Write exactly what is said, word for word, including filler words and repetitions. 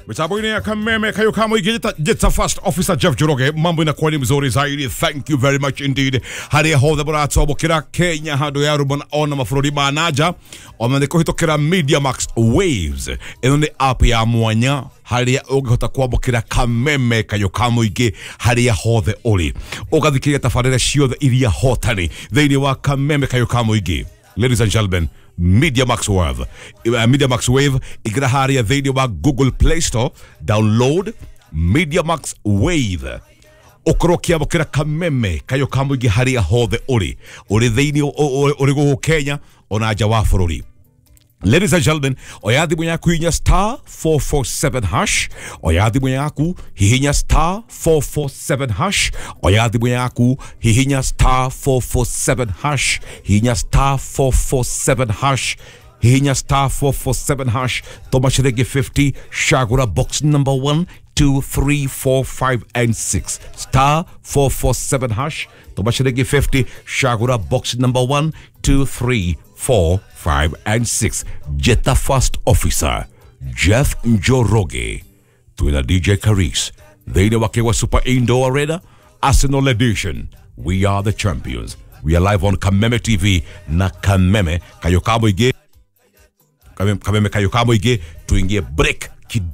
Mitambo-inĩ ya Kameme Kayo Kamo igĩta First Officer Jeff Njoroge, mambo inakuwa ni mzuri zaidi. Thank you very much indeed. Harĩa hothe mũratwamũkĩra Kenya handũ ya rũmba ona mabũrũri ma nanja, ona nĩ kũhĩtũkĩra Media Max Waves. Ĩno nĩ app ya mwanya harĩa ũngĩhota kwamũkĩra Kameme Kayo ka mũingĩ harĩa hothe ũrĩ, ũgathikĩrĩria tabarĩra ciothe iria hotani thĩinĩ wa Kameme Kayo ka mũingĩ. Ladies and gentlemen, Media Max Wave. Uh, Media Max Wave igira haria thĩinĩ wa Google Play Store, download Media Max Wave, ũkorwo ũkĩamũkĩra Kameme Kayo ka mũingĩ harĩa hothe ũrĩ, ũrĩ thĩinĩ ũrĩ gũkũ Kenya ona nja wa bũrũri. Ladies and gentlemen, oya thimũ yaku, hihinya star four four seven hash. Oya thimũ yaku, hihinya star four four seven hash. Oya thimũ yaku, hihinya star four four seven hash. Hihinya star four four seven hash. Hihinya star four four seven hash. Tũma ciringi fifty, cagũra box number one, two, three, four, five and six. star four four seven hash. Tũma ciringi fifty, cagũra box number one, two, three, four, five and six. Jeta First Officer Jeff Njoroge twina D J Caris thĩinĩ wa Kĩgwa Super Indoor Arena, Arsenal Edition. We are the champions. We are live on Kameme T V na Kameme Kayo ka mũingĩ. Kameme Kayo ka mũingĩ, tuingie break kidogo.